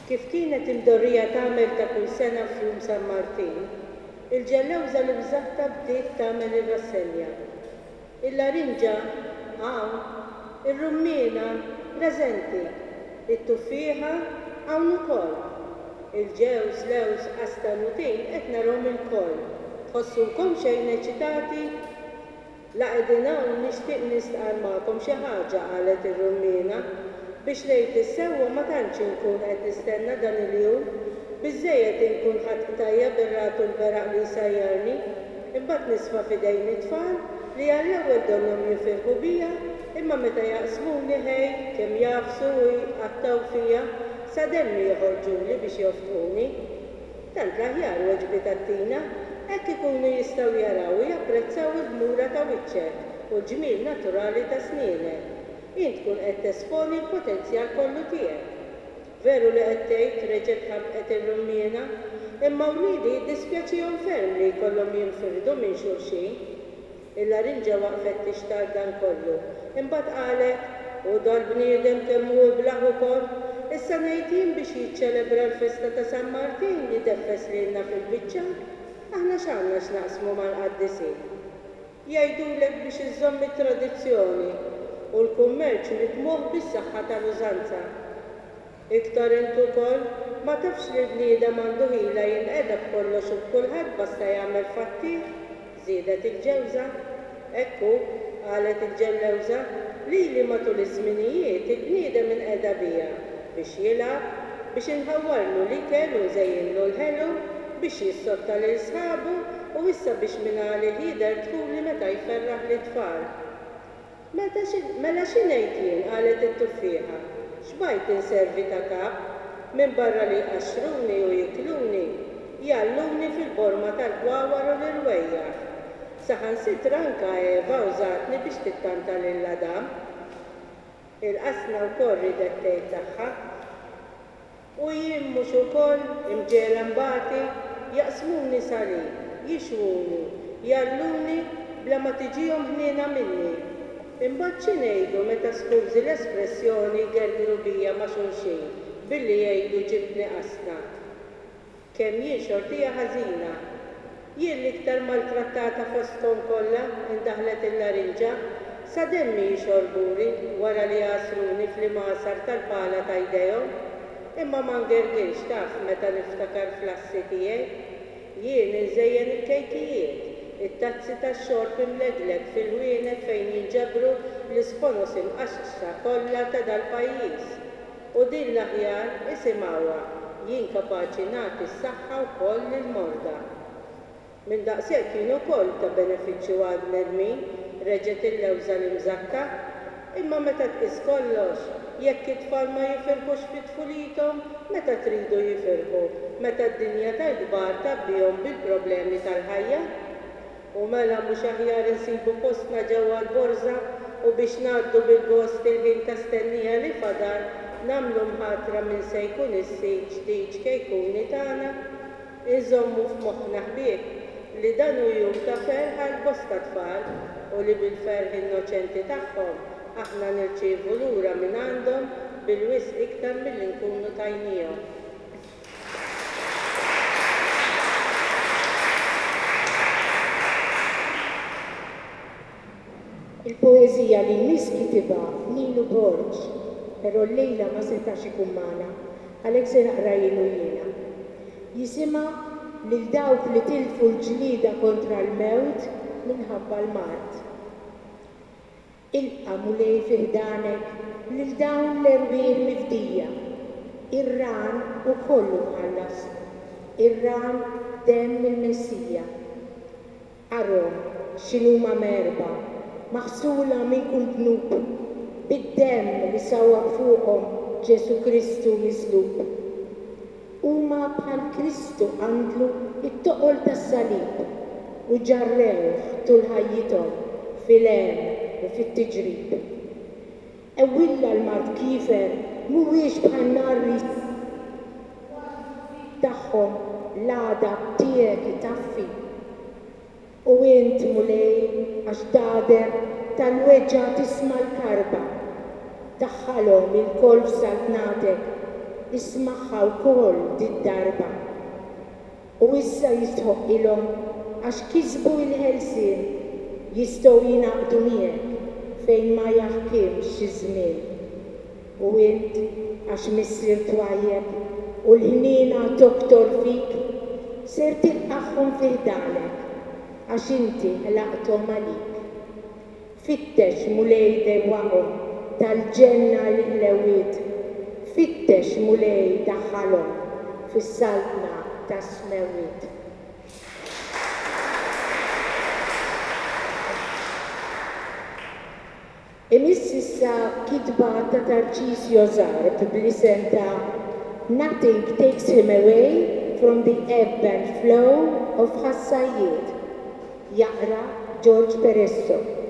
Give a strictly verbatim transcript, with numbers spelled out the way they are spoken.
Kif kienet imdorrija tagħmel ta' kull sena f'Jum San Martin, il-ġellewża l-imżatta bdiet tagħmel ir-rassenja. Il-larinġa hawn, ir-rummiena preżenti, it-tuffieħa hawn ukoll. Il-ġewż, lewż, qastan u tin qed narahom ilkoll. Tħossukom xejn eċitati? La qegħdin hawn nixtieq nistqarr magħkom xi ħaġa, qalet ir-rummiena. Biex ngħid is-sewwa ma tantx inkun qed nistenna dan il-jum. Biżżejjed inkun ħadt qtajja bir-ragħad u l-beraq li jsajjarni. Imbagħad nisfa' f'idejn it-tfal li għall-ewwel donnhom jifirħu bija, imma meta jaqsmuni ħej, kemm jagħfsu u jqattgħu fija, sa demmi joħorġuli biex joftquni. Tant l-aħjar, weġbitha Tina, hekk ikunu jistgħu jaraw u japprezzaw il-ħmura ta' wiċċek u l-ġmiel naturali ta' snienek. Int tkun qed tesponi l-potenzjal kollu tiegħek. Veru li qed tgħid, reġgħet ħabqet ir-rummiena, imma wliedi jiddispjaċihom ferm li jkollhom jinfirdu minn xulxin. Il-larinġa waqfet tixtarr dan kollu. Imbagħad qalet, U dal-bniedem kemm hu iblah ukoll! Issa ngħid jien biex jiċċelebra l-festa ta' San Martin ideffes lilna fil-biċċa? Aħna x'għandna x'naqsmu mal-qaddisin? Jgħidulek biex iżżomm it-tradizzjoni u l-kummerċ mitmugħ bis-saħħa tal-użanza. Iktar int ukoll, ma tafx li l-bniedem għandu ħila jinqeda b'kollox u b'kulħadd basta jagħmel fattih? żiedet il-ġewża. Hekk hu, qalet il-ġellewża, lili matul iż-żminijiet il-bniedem inqeda bija biex jilgħab, biex inħawwarlu l-ikel u nżejjinlu l-ħelu, biex jissotta lil sħabu u issa biex mingħalih jidher dħuli meta jferraħ lit-tfal. Meta xi, mela xi ngħid jien, qalet it-tuffieħa, xbajt inservi ta' kap, minbarra li jqaxxruni u jikluni, jgħalluni fil-borma tal-ħwawar u l-irwejjaħ. Saħansitra anka Eva użatni biex tittanta lil Adam. Il-qasna wkoll riedet tgħid tagħha. U jien mhux ukoll imġegħla nbati? Jaqsmuni salib, jixwuni, jgħalluni bla ma tiġihom ħniena minni. Imbagħad xi ngħidu meta skużi l-espressjoni jgergru bija ma' xulxin billi jgħidu ġibtni qasna? Kemm jien xortija ħażina! Jien l-iktar maltrattata fostkom kollha, indaħlet il-larinġa, sa demmi jixorbuli wara li jagħsruni fl-imgħasar tal-pala ta' jdejhom. Imma ma ngergirx taf meta niftakar fl-assi tiegħi. Jien inżejjen il-kejkijiet, it-tazzi tax-xorb imlegleg fil-ħwienet fejn jinġabru l-isponos imqaxqxa kollha ta' dal-pajjiż. U din l-aħjar, isimgħuha, jien kapaċi nagħti s-saħħa wkoll lill-morda. Minn daqshekk jien ukoll ta' benefiċċju għall-bnedmin, reġgħet il-lewża l-imżakka. Imma meta tqis kollox, jekk it-tfal ma jifirħux fi tfulithom, meta tridu jifirħu, meta d-dinja tal-kbar tgħabbihom bil-problemi tal-ħajja? U mela mhux aħjar insibu postna ġewwa l-borża u biex ngħaddu bil-gost il-ħin ta' stennija li fadal, nagħmlu mħatra min se jkun is-sid ġdid ċkejkuni tagħna? Inżommu f'moħħna ħbieb li dan hu jum ta' ferħ għal bosta tfal u li bil-ferħ innoċenti tagħhom aħna nirċievu lura mingħandhom bil-wisq iktar milli nkunu tajniehom. Il-poeżija li jmiss kitibha Ninu Borg, però llejla ma setax ikun magħna, għalhekk se naqrahielu jiena. Jisimha Lil dawk li tilfu l-ġlieda kontra l-mewt minħabba l-mard. Ilqa', Mulej, fi ħdanek lil dawn l-erwieħ mifdija. Ir-rahan hu kollu mħallas, ir-rahan demm il-Messija. Arhom x'inhuma mgħerba, maħsula minn kull dnub, bid-demm li sawwab fuqhom Ġesù Kristu mislub. Huma bħal Kristu qandlu t-toqol tas-salib u ġarrewh tul ħajjithom fil-hemm u fit-tiġrib. Ewwilla l-mard kiefer mhuwiex bħan-nar li jsir u għad-dnubiet tagħhom l-għadab tiegħek itaffi. U int, Mulej, għax tagħder tal-weġgħa tisma' l-karba, daħħalhom ilkoll f'saltnatek. Ismagħha wkoll did-darba. U issa jistħoqqilhom għax kisbu l-ħelsien, jistgħu jingħaqdu miegħek fejn ma jaħkimx iż-żmien. U int, għax Missier twajjeb u l-ħniena toktor fik, ser tilqagħhom fi ħdanek għax inti ħlaqthom għalik. Fittex, Mulej, dewwaqhom tal-ġenna l-ħlewiet, fittex, Mulej, daħħalhom fis-saltna tas-smewwiet. Imiss issa kitba ta' Tarcisio Zarb bl-isem ta' Nothing Takes Him Away from the Ebb and Flow of Ħas-Sajjied. Jaqra George Peresso.